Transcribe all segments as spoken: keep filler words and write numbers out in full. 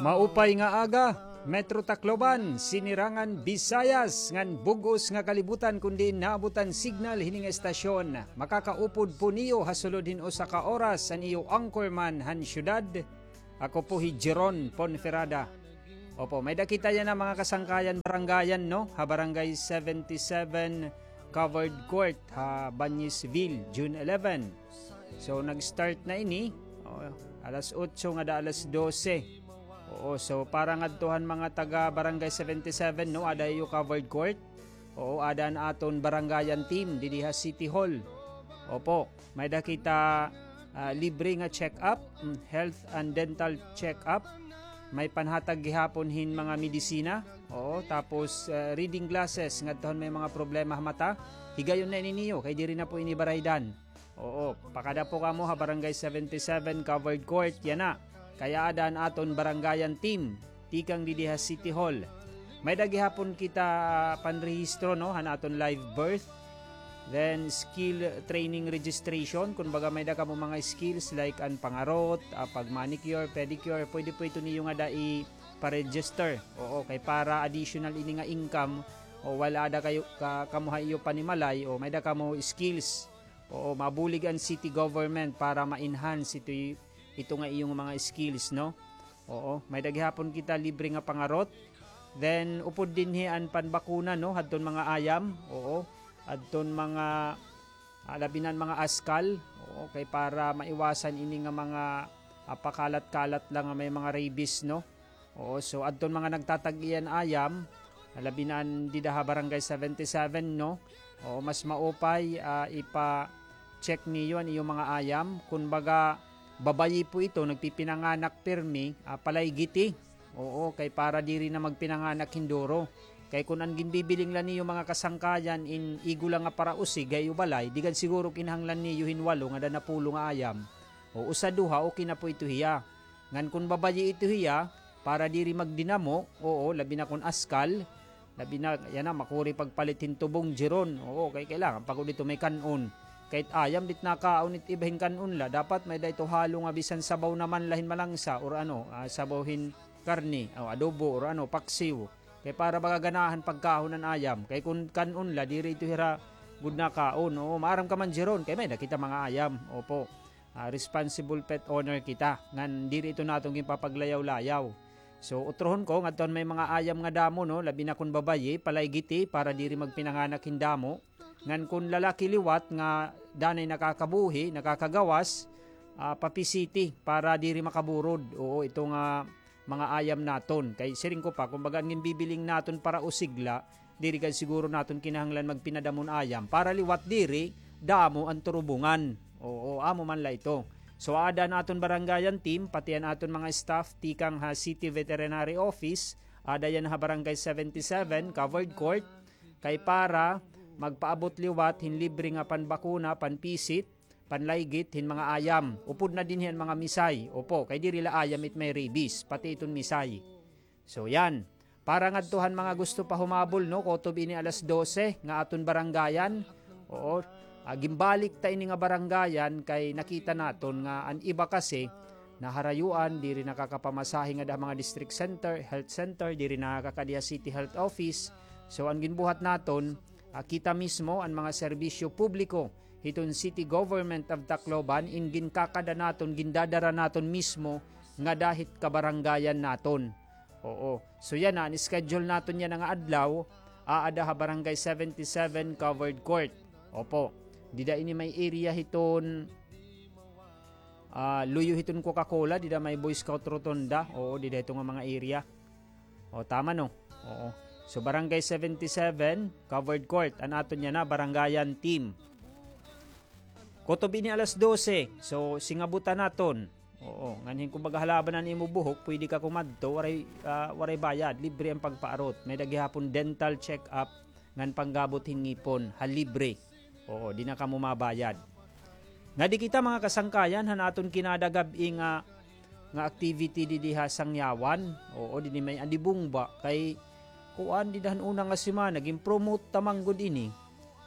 Maupay nga aga, Metro Tacloban, Sinirangan, Visayas, ngan bug-os nga kalibutan kon diin naabot an signal hini nga estasyon. Makakaupod po niyo ha sulod hin usa ka oras an iyo anchorman han syudad. Ako po hi Jeron Ponferrada. Opo, may-ada kita yana mga kasangkayan barangayan, no? Ha Barangay seventy-seven Covered Court, ha Bañesville, June eleven. So, nag-start na ini, o, alas otso ngada alas dose. Oo, so para ngadto han mga taga Barangay seventy-seven, no, ada iyo covered court. Oo, ada an aton barangayan team didi ha City Hall. Opo, may-ada kita, ah, libre nga check-up, mm, health and dental check-up. May panhatag gihapon hin mga medisina. Oo, tapos, ah, reading glasses ngadto han may mga problema ha mata. Higayon na ini niyo kay diri na po ini baraydan. Oo, pakada po kamo ha Barangay seventy-seven Covered Court, yana. Kay aada an aton barangayan team tikang didi ha City Hall. May-ada gihapon kita panrehistro, no, han aton live birth. Then, skill training registration. Kun baga may-ada kamo mga skills like an pangarot, ah, pag-manicure, pedicure, pwede po ito niyo ngada ipa-register. Oo, kay para additional ini nga income, o wala ada kayo, ka, kamo ha iyo panimalay, o may-ada kamo skills. Oo, mabulig an city government para ma-enhance ito, ito nga iyong mga skills, no? Oo, may-ada gihapon kita libre nga pangarot. Then, upod dinhi an panbakuna, no? Hadton mga ayam, oo. Hadton mga, ah, labi na an mga askal, oo, kay para maiwasan ini nga mga, ah, pakalat-kalat la nga may mga rabies, no? Oo, so adton mga nagtatag-iya hin ayam, labi na an dida ha Barangay seventy-seven, no? Oo, mas maupay, ah, ipa-check niyo an iyo mga ayam. Kun baga, babayi po ito, nagpipinanganak pirmi, ah, palaygiti. Oo, kay para diri na magpinanganak hin duro. Kay kun an ginbibiling la niyo mga kasangkayan in igo la nga parausig ha iyo balay, di gad siguro kinahanglan niyo hin walo ngada napulo nga ayam. O usa, duha, okay na po ito hiya. Ngan kun babayi ito hiya, para diri magdinamo, oo, labi na kun askal, labi na, yana, makuri pagpalit hin tubong, Jeron, oo, kay kailangan pa gud ito may kan-on. Kay it ayam, di it nakaon it iba hin kan-on la, dapat may-ada ito halo nga bisan sabaw naman la hin malangsa, or ano, ah, sabaw hin karne, o adobo, or ano, paksiw. Kay para baga ganahan pagkaon an ayam, kay kun kan-on la, diri ito hira gud nakaon, oo, maaram ka man, Jeron, kay may-ada kita mga ayam, opo. Ah, responsible pet owner kita. Ngan diri ito naton ginpapaglayaw-layaw. So, utrohon ko, ngadto han may mga ayam nga damo, no, labi na kun babayi, palaygiti para diri magpinanganak hin damo. Ngan kun lalaki liwat nga danay nakakabuhi, nakakagawas, ah, papisiti para diri makaburod. Oo, ito nga mga ayam naton. Kay siring ko pa, kun baga an ginbibiling naton parausig la, diri gad siguro naton kinahanglan magpinadamo hin ayam. Para liwat diri, damo an turubungan. Oo, amo man la ito. So, aada an aton barangayan team, pati an aton mga staff tikang ha City Veterinary Office, aada yana ha Barangay seventy-seven, Covered Court, kay para magpaabot liwat hin libre nga panbakuna, panpisit, panlaygit hin mga ayam. Upod na dinhi an mga misay. Opo, kay diri la ayam it may rabies, pati iton misay. So, yan. Para ngadto han mga gusto pa humabol, no, kutob ini alas dose nga aton barangayan. Oo, ah, ginbalik ta ini nga barangayan kay nakita naton nga an iba kasi naharayuan, diri nakakapamasahe ngada ha mga district center, health center, diri nakakadi ha city health office. So, an ginbuhat naton, ah, kita mismo an mga serbisyo publiko hiton City Government of Tacloban, in ginkakada naton, gindadara naton mismo ngada hit kabarangayan naton. Oo. So, yana, an schedule naton yana nga adlaw, aada ha Barangay seventy-seven Covered Court. Opo. Dida ini may area hiton, ah, luyo hiton Coca-Cola, dida may Boy Scout Rotonda. Oo, dida hito nga mga area. O, tama, no? Oo. So, Barangay seventy-seven, Covered Court, an aton yana, barangayan team. Kutob ini alas dose. So, singabutan naton. Oo, nganhin kumbaga halaban an imo buhok, pwede ka kumadto, waray, ah, waray bayad, libre an pagpaarot. May-ada gihapon dental check-up, ngan panggabot hin ngipon, ha libre. Oo, di na kamo mabayad. Ngadi kita, mga kasangkayan, han aton kinada gab-i nga, nga activity didi ha Sangyawan. Oo, didi may Andibungba, kay kuan, dida han una nga semana, gin-promote ta man gud ini.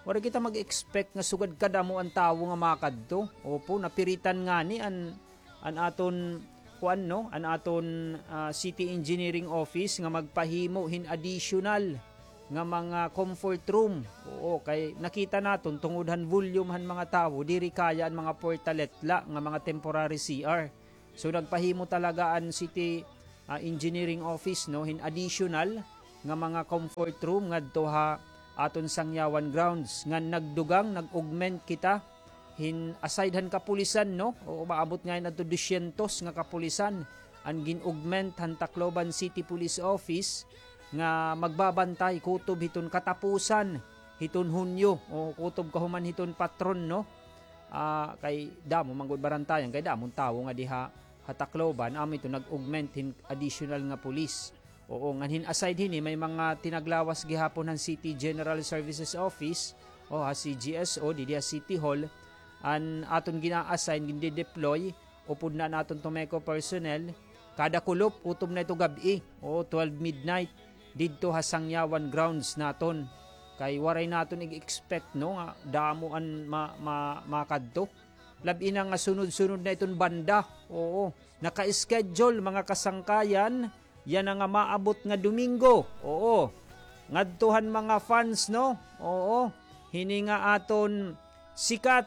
Waray kita mag-expect nga sugad kadamo an tawo nga makadto. Opo, napiritan ngani an, an aton kuan, no, an aton, ah, City Engineering Office nga magpahimo hin additional nga mga comfort room. Oo, kay nakita naton tungod han volume han mga tawo, diri kaya an mga portalet la nga mga temporary C R. So, nagpahimo talaga an City, ah, Engineering Office, no, hin additional nga mga comfort room ngadto ha aton Sangyawan grounds. Ngan nagdugang, nag-augment kita hin aside han kapulisan, no? O, umaabot ngay-an adto dosyentos nga kapulisan an gin-augment han Tacloban City Police Office nga magbabantay kutob hiton katapusan hiton Hunyo, o kutob kahuman hiton patron, no? Ah, kay damo man gud barantayan, kay damo an tawo nga diha ha Tacloban, amo ito nag-augment hin additional nga pulis. Oo, ngan hin aside hini, may mga tinaglawas gihapon han City General Services Office, o ha C G S O, didi ha City Hall, an aton gina-assign, ginde-deploy, upod na an aton Tomeco personnel, kada kulop, kutob na ito gab-i, o twelve midnight, didto ha Sangyawan grounds naton. Kay waray naton ig-expect, no, nga damo an ma-, ma-, makadto. Labi na nga sunod-sunod na iton banda. Oo. Naka-schedule, mga kasangkayan. Yana nga maabot nga Domingo. Oo. Ngadto han mga fans, no? Oo. Hini nga aton sikat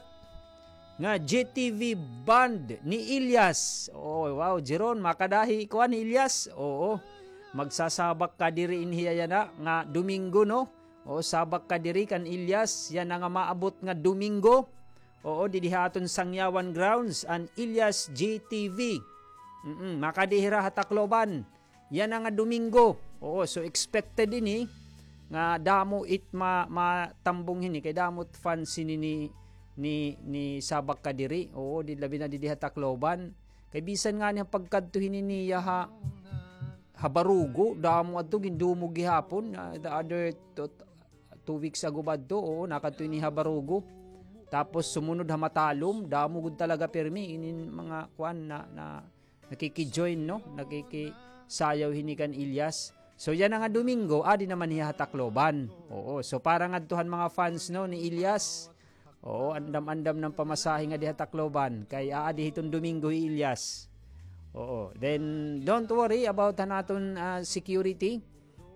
nga G T V band ni Ilyas. Oo, wow, Jeron, makadahi kuan ni Ilyas. Oo. Magsasabak ka diri inhiya yana nga Domingo, no? O, sabak ka diri kan Ilyas, yana nga maabot nga Domingo. Oo, didi ha aton Sangyawan grounds, an Ilyas G T V. Mm, makadi hira ha Tacloban. Yana nga Domingo. Oo, so expected ini nga damo it ma-, matambong hini, kay damo it fans hini ni, ni, ni sabak ka diri. Oo, di labi na didi ha Tacloban. Kay bisan ngani ha pagkadto hini niya ha, ha Barugo, damo adto, gindumog gihapon, ah, the other two, two weeks ago ba adto, oo, nakadto ini ha Barugo. Tapos sumunod ha Matalom, damo gud talaga pirmi, inin mga kuan na, na nakiki-join, no? Nakikisayaw hini kan Ilyas. So, yana nga Domingo, adi naman hiya ha Tacloban. Oo, so para ngadto han mga fans, no, ni Ilyas, oo, andam-andam na an pamasahe nga diha Tacloban. Kay aadi hiton Domingo hi Ilyas. Oo. Then, don't worry about han aton, ah, security.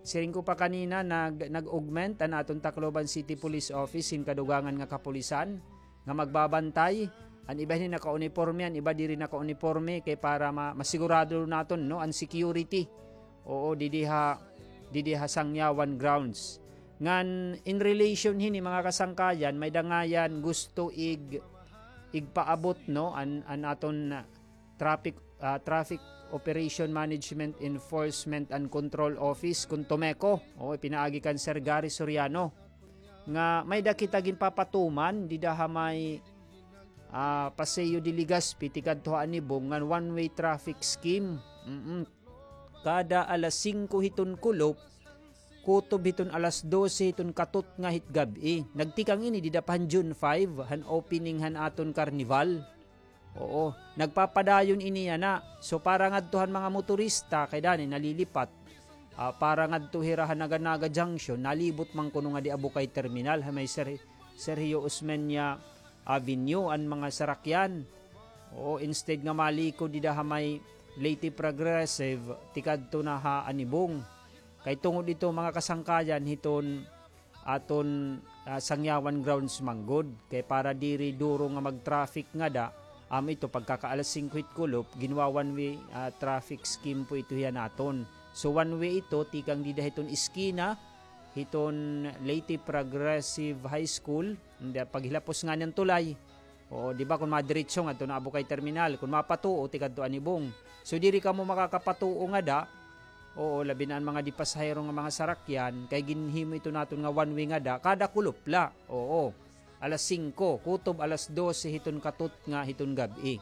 Siring ko pa kanina, nag-, nag-augment an aton Tacloban City Police Office hin kadugangan nga kapulisan nga magbabantay. An iba hini naka-uniporme, an iba diri naka-uniporme, kay para ma-, masigurado naton, no, an security. Oo, didi ha, didi ha Sangyawan grounds. Ngan in relation hini, mga kasangkayan, may dangayan gusto ig-, igpaabot, no, an, an aton traffic, ah, Traffic Operation Management Enforcement and Control Office, kun TOMECO. Oo, pinaagi kan Sir Gary Soriano. Nga may-ada kita ginpapatuman dida ha may, ah, Paseo de Legazpi, tikadto ha Anibong, ngan one-way traffic scheme. Mm-mm. Kada alas singko hiton kulop, kutob hiton alas dose hiton katutnga hit gab-i. Nagtikang ini dida pa han June five, han opening han aton karnival. Oo, nagpapadayon ini yana. So, para ngadto han mga motorista, kay dani nalilipat. Ah, para ngadto hira ha Naga-Naga Junction, nalibot man kuno ngadi Abukay Terminal, ha may Ser-, Sergio Osmeña Avenue an mga sarakyan. Oo, instead nga malikod dida ha may Leyte Progressive, tikadto na ha Anibong. Kay tungod ito, mga kasangkayan, hiton aton, ah, Sangyawan grounds man gud. Kay para diri duro nga mag-traffic ngada, amo ito pagkaka-alas singko hit kulop, ginwa-one way, ah, traffic scheme po ito hiya naton. So one way ito, tikang dida hiton iskina, hiton Leyte Progressive High School, nda paghilapos ngani han tulay. Oo, di ba, kun madiretso ngadto na Abukay Terminal, kun mapatuo, tikadto Anibong. So diri kamo makakapatuo ngada, oo, labi na an mga di pasahero nga mga sarakyan, kay ginhimo ito naton nga one way ngada, kada kulop la. Oo. Alas singko, kutob alas dose hiton katutnga hiton gab-i.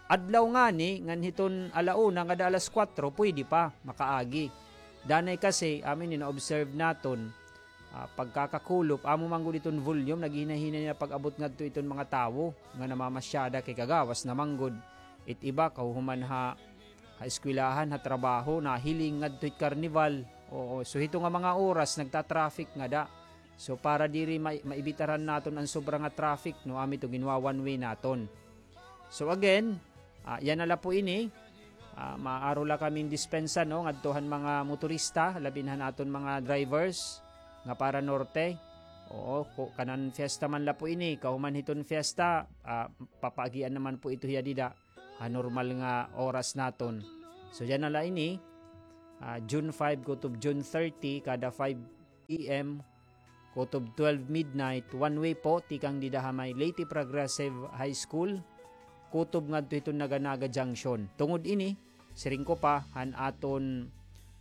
Adlaw ngani, ngan hiton ala una ngada alas kuwatro, pwede pa, makaagi. Danay kasi, amo ini na-observe naton, ah, pagkakakulop, amo man gud iton volume, naghihinay-hinay na pag-abot ngadto iton mga tawo nga namamasyada kay kagawas na man gud. It iba, kahuhuman ha, ha eskwelahan, ha trabaho, nahiling ngadto hit karnival. Oo, so hito nga mga oras, nagta-traffic ngada. So para diri ma-, maibitaran naton an sobra nga traffic, no, amo ito ginwa-one way naton. So again, ah, yana la po ini. Ah, maaro la kami hin dispensa, no, ngadto han mga motorista, labi na han aton mga drivers nga para norte. Oo, ku-, kanan fiesta man la po ini, kahuman hiton fiesta, ah, papaagian naman po ito hiya dida ha normal nga oras naton. So, yana la ini, ah, June five kutob June thirty, kada five p.m. kutob twelve midnight, one way po, tikang dida ha may Leyte Progressive High School, kutob ngadto hiton Naga-Naga Junction. Tungod ini, siring ko pa, han aton,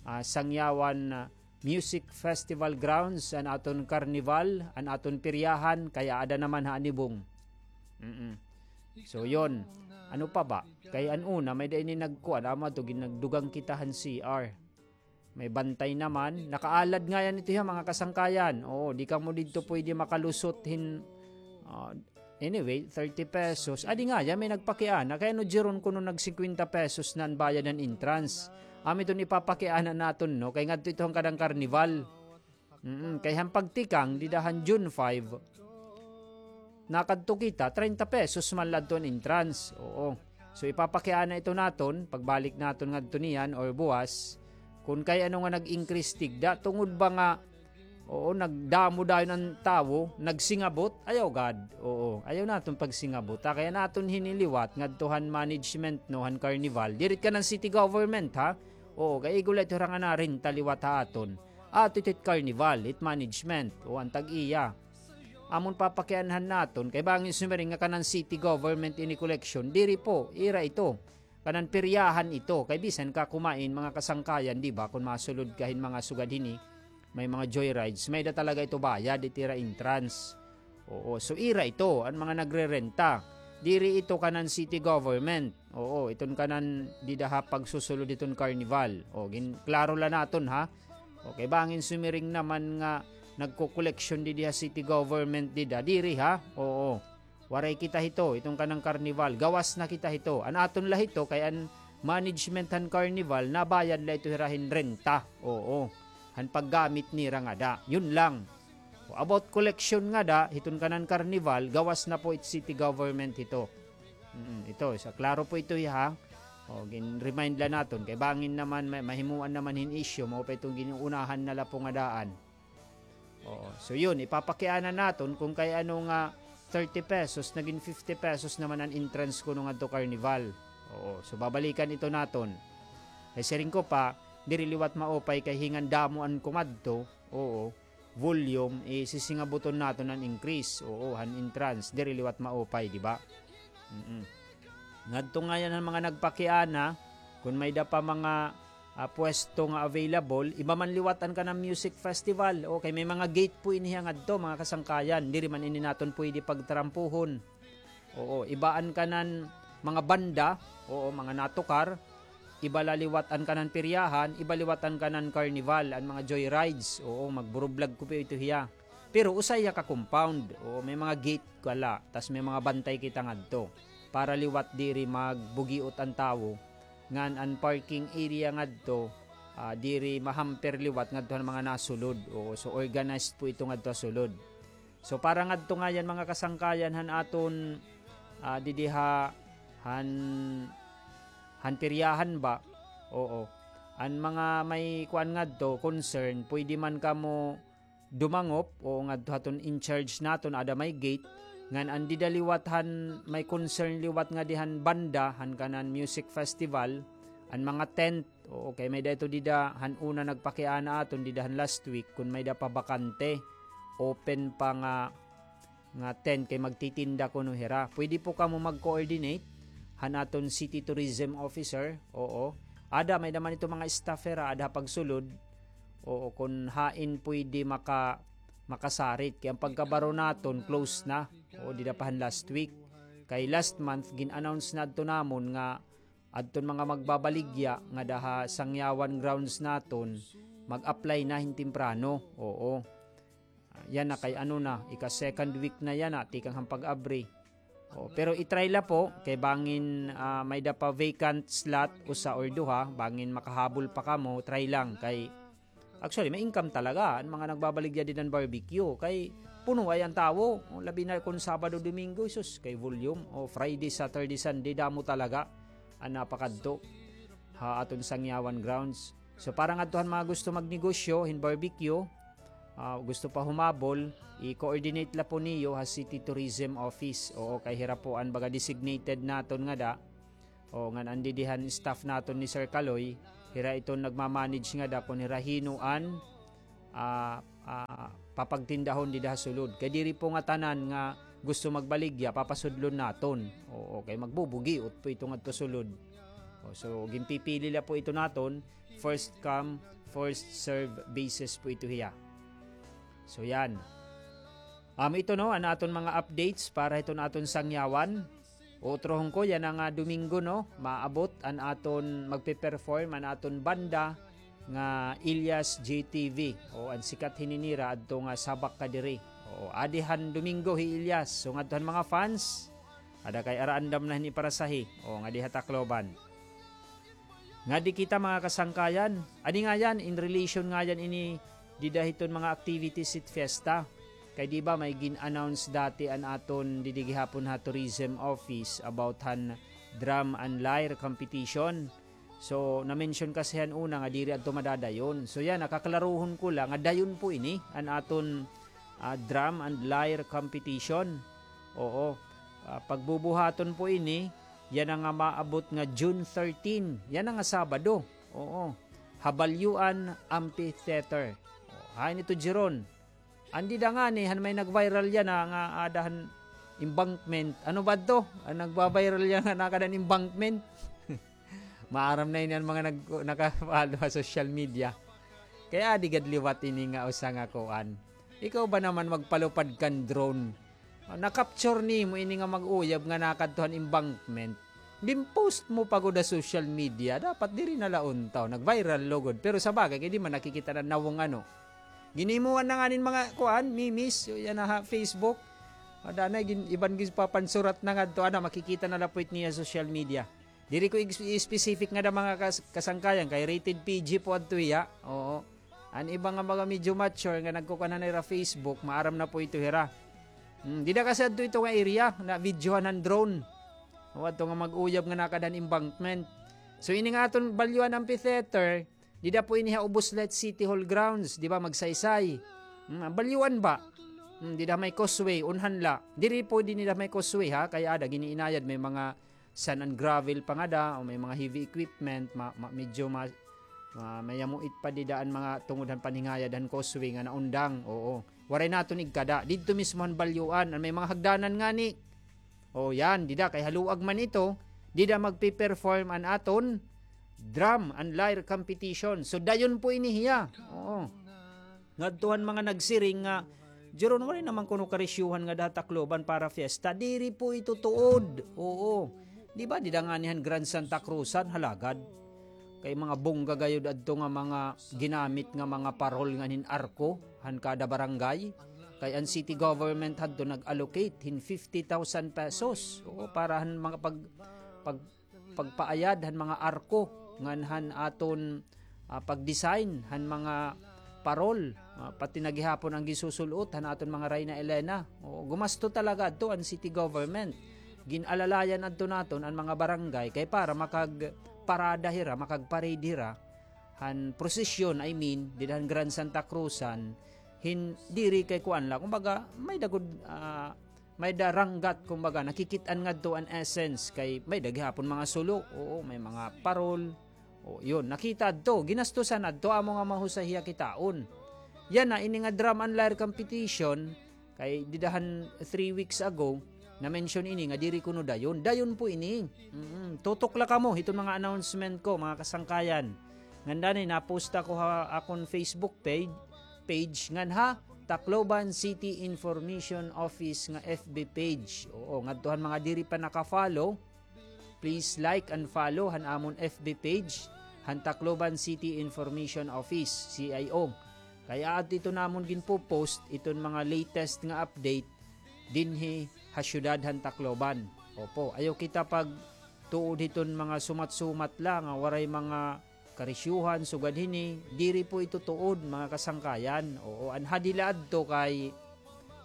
ah, Sangyawan, ah, Music Festival grounds, an aton karnival, an aton peryahan, kay aada naman ha Anibong. Mm-mm. So, yon. Ano pa ba? Kay an una, may-ada ini nagkuan, amo adto, ginagdugang kita han C R. May bantay naman. Nakaalad ngay-an ito hiya, mga kasangkayan. Oo, di kamo didto pwede makalusot hin, ah, anyway, thirty pesos. Adi ngay-an, may nagpakiana. Kay ano, Jeron, kuno nag-singkwenta pesos na an bayad han entrance. Amo iton ipapakiana naton, no? Kay ngadto ito han kadang karnival. Mm, kay han pagtikang, dida han June five, nakadto kita, treinta pesos man la adto an entrance. Oo. So, ipapakiana ito naton, pagbalik naton ngadto niyan or buwas, kun kay ano nga nag-increase tigda, tungod ba nga, oo, nagdamo dayon an tawo, nagsingabot, ayaw gad. Oo, ayaw naton pagsingabot. Ha, kay an aton hini liwat, ngadto han management, no, han carnival, diri kanan city government, ha? Oo, kay igo la ito hira nga narenta liwat ha aton. Ato ito it carnival, it management, o an tag-iya. Amon papakianhan naton, kay bangin sumiring nga kanan city government ini collection, diri po, ira ito. Kanan peryahan ito, kay bisan ka kumain, mga kasangkayan, di ba, kun masulod ka hin mga sugad hini, may mga joyrides, may-ada talaga ito bayad, it ira entrance. Oo, so ira ito, an mga nagrerenta. Diri ito kanan city government. Oo, iton kanan dida ha pagsusulod hiton carnival. O, gin-, klaro la naton, ha? Okay, bangin sumiring naman nga nagko-collection didi ha city government dida. Diri, ha? Oo. Waray kita hito, iton kanan carnival. Gawas na kita hito. An aton la hito, kay an management han carnival, nabayad la ito hira hin renta. Oo. Han paggamit nira ngada. Yun lang. O, about collection ngada, hiton kanan carnival, gawas na po it city government hito. Mm, ito, sa klaro po ito, ha? O, gin-remind la naton, kay bangin naman, ma-, mahimuan naman hin issue, mao pa iton gin-uunahan na la po nga daan. Oo, so yun, ipapakiana naton kun kay ano nga thirty pesos, nagin fifty pesos naman an entrance kuno ngadto carnival. Oo, so babalikan ito naton. Kay siring ko pa, diri liwat maupay kay hingan damo an kumadto. Oo. Volume, eh, sisingabuton naton an increase. Oo, han entrance, diri liwat maupay, di ba? Mm-mm. Ngadto ngay-an han mga nagpakiana, kun may-ada pa mga, ah, pwesto nga available, iba man liwat an kanan music festival. Okay, may mga gate po ini hiya ngadto, mga kasangkayan. Diri man ini naton pwede pagtrampuhon. Oo, iba an kanan mga banda, oo, mga natukar, iba la liwat an kanan peryahan, iba liwat an kanan carnival, an mga joyrides, oo, magburublag ko pa ito hiya. Pero usa hiya ka compound, oo, may mga gate ka la, tas may mga bantay kita ngadto. Para liwat diri magbugiot an tawo, ngan an parking area ngadto, ah, diri mahamper liwat ngadto han mga nasulod, oo, so organized po ito ngadto ha sulod. So, para ngadto ngay-an, mga kasangkayan, han aton, ah, didi ha, han, han peryahan ba? Oo. An mga may kuan ngadto, concern, pwede man kamo dumangop, oo, ngadto haton in charge naton, ada may gate, ngan an dida liwat han may concern liwat ngadi han banda, han kanan music festival, an mga tent, Oo, kay may-ada ito dida, han una nagpakiana aton dida han last week, kun may-ada pa bakante, open pa nga, nga tent kay magtitinda kuno hira. Pwede po kamo mag-coordinate han aton city tourism officer. Oo. Ada, may-ada man ito mga staff hira, ada ha pagsulod. Oo, kun hain pwede maka-, makasarit. Kay an pagkabaro naton, close na. Oo, dida pa han last week. Kay last month, gin-announce na adto namon nga adton mga magbabaligya ngada ha Sangyawan grounds naton, mag-apply na hin temprano. Oo. Ah, yana kay ano na, ika-second week na yana, tikang han pag-abri. Oo, pero i-try la po, kay bangin, ah, may-ada pa vacant slot, usa or duha, bangin makahabol pa kamo, try lang, kay Actually, may income talaga an mga nagbabaligya dida han barbecue. Kay puno ay an tawo. O, labi na kon Sabado, Domingo, sus, kay volume. O, Friday, Saturday, Sunday, damo talaga an napakadto. ha aton Sangyawan grounds. So, para ngadto han mga gusto magnegosyo hin barbecue, ah, gusto pa humabol, i-coordinate la po niyo ha City Tourism Office. Oo, kay hira po an baga designated naton ngada. O, ngan an didi han staff naton ni Sir Kaloy, hira iton nagma-manage ngada kon hira hin-o an, ah, ah, papagtindahon dida ha sulod. Kay diri po ngatanan nga gusto magbaligya, papasudlon naton. Oo, kay magbubugiot po ito ngadto sulod. O, so, ginpipili la po ito naton, first come, first serve basis po ito hiya. So, yan. Amo ito, no, an aton mga updates para hiton aton Sangyawan. Utrohon ko, yana nga Domingo, no, maabot an aton, magpe-perform an aton banda nga Ilyas J T V. O, an sikat hini nira adto nga Sabak Kadiri. O, adi han Domingo hi Ilyas. So, ngadto han mga fans, ada kay ara andam na hini parasahe. O, ngadi ha Tacloban. Ngadi kita, mga kasangkayan. Adi ngayan, in relation ngayan ini dida hiton mga activities hit fiesta. Kay di ba may gin-announce dati an aton didi gihapon ha tourism office about han drum and lyre competition. So, na-mention kasi han una nga diri adto madadayon. So, yana, kaklarohon ko la nga dayon po ini an aton, ah, drum and lyre competition. Oo. Ah, pagbubuhaton po ini, yana nga maabot nga June thirteen. Yana nga Sabado. Oo. Ha Balyuan Amphitheater. O, hain ito, Jeron? An dida ngani, han may nag-viral yana nga ada han embankment. Ano ba to? An nagba-viral yana nga nakada han embankment. Maaram na ini an mga nag-, naka-follow ha social media. Kay adi gad liwat ini nga usa nga kuan. Ikaw ba naman magpalupad kan drone? Ah, na-capture nimo ini nga mag-uyab nga nakadto han embankment. Gin-post mo pa gud ha social media. Dapat diri na la untaw. Nag-viral lugod. Pero sa bagay, kay di man nakikita na nawong ano. Ginhimuan na ngani hin mga kuan, memes, yana ha Facebook. Ada na, gin-, iban ginpapansurat na ngadto, ana, makikita na la po it niya social media. Diri ko ig-, specific ngada mga kas-, kasangkayan, kay rated P G po adto hiya. Oo. An iba nga mga medyo mature nga nagkukuan na hira Facebook, maaram na po ito hira. Hmm, dida kasi adto ito nga area, na-videohan han drone. O, adto nga mag-uyab nga nakada han embankment. So, ini nga aton Balyuan Amphitheater, dida po ini ha Ubos Light City Hall grounds, di ba, Magsaysay. Hmm, Balyuan ba? Hmm, dida may causeway, unhan la. Diri po dida may causeway, ha, kay ada, gin-iinayad, may mga sand and gravel pa ngada, o may mga heavy equipment, ma-, ma-, medyo ma-, ma-, mayamuit pa dida an mga tungod han paningayad han causeway nga naundang. Oo. Waray naton igkada. Didto mismo han Balyuan, an may mga hagdanan ngani. O, yan, dida, kay haluag man ito, dida magpe-perform an aton drum and lyre competition. So, dayon po ini hiya. Oo. Ngadto han mga nagsiring nga, "Jeron, waray naman kuno karisyuhan ngada ha Tacloban para fiesta." Diri po ito tuod. Oo. Di ba, dida ngani han Grand Santa Cruzan, halagad. Kay mga bongga gayod adto nga mga ginamit nga mga parol ngan hin arko han kada barangay. Kay an city government hadto nag-allocate hin fifty thousand pesos. Oo, para han mga pag-, pag-, pagpaayad han mga arko ngan han aton, ah, pag-design han mga parol, ah, pati na gihapon an gisusul-ot han aton mga Reyna Elena. Oo, gumasto talaga adto an city government. Gin-alalayan adto naton an mga barangay kay para makagparada hira, makagparade hira han prosesyon, I mean, dida han Grand Santa Cruzan, hin-, diri kay kuan la, kumbaga, may-ada gud, ah, may-ada ranggat, kumbaga, nakikit-an ngadto an essence, kay may-ada gihapon mga sulo, oo, may mga parol, o, yun, nakita adto, ginastusan adto, amo nga mahusay hiya kitaon. Yana, ini nga drum and lyre competition, kay dida han three weeks ago, na-mention ini nga diri kuno dayon. Dayon po ini. Mm, tutok la kamo hiton mga announcement ko, mga kasangkayan. Ngandani, na-post ako ha akon Facebook page, page ngan ha Tacloban City Information Office nga F B page. Oo, ngadto han mga diri pa naka-follow, please like and follow han amon F B page, han Tacloban City Information Office, C I O. Kay aadto ito namon ginpo-post iton mga latest nga update dinhi ha syudad han Tacloban. Opo, ayaw kita pagtuod hiton mga sumat-sumat la nga waray mga karisyuhan, sugad hini, diri po ito tuod, mga kasangkayan. Oo, an hadi la adto kay,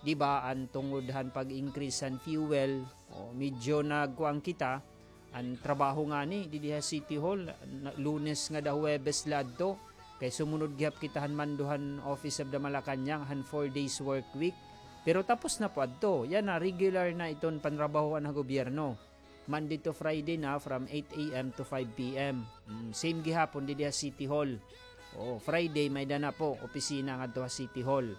di ba, an tungod han pag-increase han fuel, o, medyo nagkuan kita, An trabaho ngani didi ha City Hall, na, Lunes ngada Huwebes la adto. Kay sumunod gihap kita han mando han Office of the Malacañang han four days work week. Pero tapos na po adto. Yana, regular na iton panrabahoan ha gobyerno. Monday to Friday na from eight a m to five p m. Mm, same gihapon didi ha City Hall. O, Friday may-ada na po opisina ngadto ha City Hall.